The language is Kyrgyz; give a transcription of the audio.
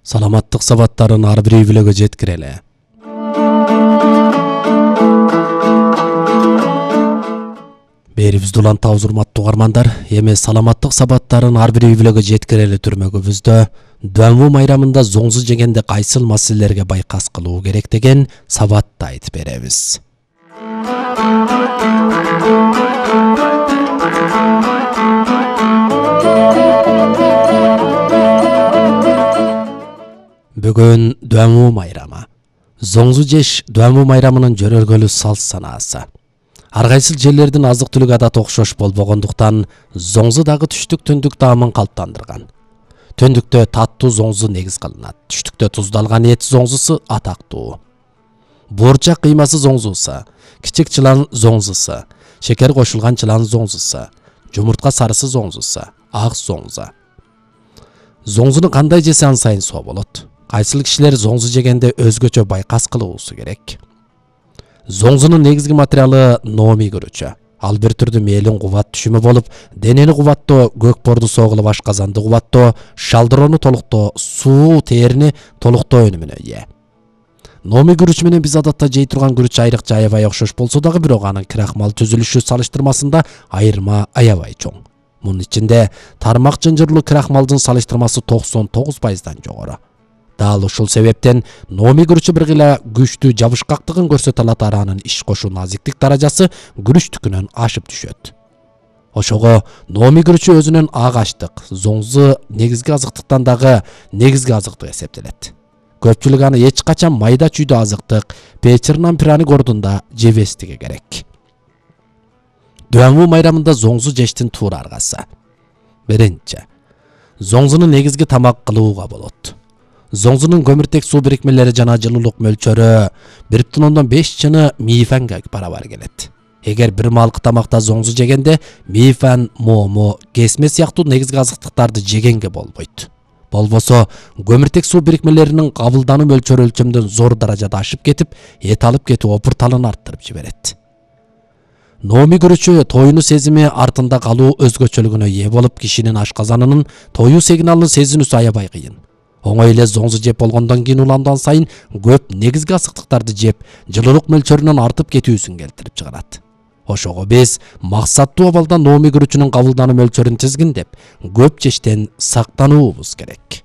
Саламаттык сабаттарын ар бир үй-бүлөгө жеткирели. Берибизди улантабыз урматтуу угармандар. Эми саламаттык сабаттарын ар бир үй-бүлөгө жеткирели түрмөгүбүздө Дуамуу майрамында зоңзу жегенде кайсыл маселелерге байкас кылуу керек деген сабатты айтып беребиз. Бүгүн Дуамуу майрамы. Зоңзу жеш Дуамуу майрамынын жөнөлгөлү салт санаасы. Ар кайсыл жерлердин азык-түлүк адаты окшош болбогондуктан зоңзу дагы түштүк түндүк таамын калыптандырган. Түндүктө таттуу зоңзу негиз кылынат. Түштүктө туздалган эт зоңзусу атактуу. Буурчак кыймасы зоңзусу, кичик чылан зоңзусу, шекер кошулган чылан зоңзусу, жумуртка сарысы зоңзусу, ак зоңзу. Зоңзуну кандай жесе ан сайын соо болот. Кайсыл кишилер зоңзу жегенде өзгөчө байкас кылуусу керек. Зоңзунун негизги материалы номи күрүчү. Ал бир түрдүү мээлин кубат түшүмү болуп, денени кубаттоо, көкпорду согулуп ашказанды кубаттоо, шалдыроону толуктоо, суу терини толуктоо өнүмүнө ээ. Номи күрүч менен биз адатта жей турган күрүч айрыкча аябай окшош болсо дагы бирок анын крахмал түзүлүшү салыштырмасында айырма аябай чоң. Мунун ичинде тармак жынжырлуу крахмалдын салыштырмасы 99%дан жогору. Дал ушул себептен номи күрүчү бир гыла күчтүү жабышкактыгын көрсөтө алат, анын иш кошуу назиктик даражасы күрүчтүкүнөн ашып түшөт. Ошого номи күрүчү өзүнүн ак аштык, зоңзу негизги азыктыктан дагы негизги азыктык эсептелет. Көпчүлүк аны эч качан майда чүйдө азыктык, печирнан пряник ордунда жебестиги керек. Дуамуу майрамында зоңзу жештин туура аргасы. Биринчи, зоңзуну негизги тамак кылууга болот. Зоңзунун көмүртек суу бирикмелери жана жылуулук мөлчөрү 1,5 чыны мифанга барабар келет. Эгер бир маалкы тамакта зоңзу жегенде мифан, момо, кесме сыяктуу негизги азыктыктарды жегенге болбойт. Болбосо көмүртек суу бирикмелеринин кабылдануу мөлчөрү өлчөмдөн зор даражада ашып кетип, эт алып кетүү опурталын арттырып жиберет. Номи күрүчү тоюну сезими артында калуу өзгөчөлүгүнө ээ болуп, кишинин ашказанынын тоюу сигналын сезинүүсү аябай кыйын. Оңой эле зоңзу жеп болгондон кийин уландан сайын көп негизги азыктыктарды жеп, жылуулук мөлчөрүнүн артып кетүүсүн келтирип чыгарат. Ошого биз максаттуу абалда номи күрүчүнүн кабылдануу мөлчөрүн тизгиндеп, көп жештен сактануубуз керек.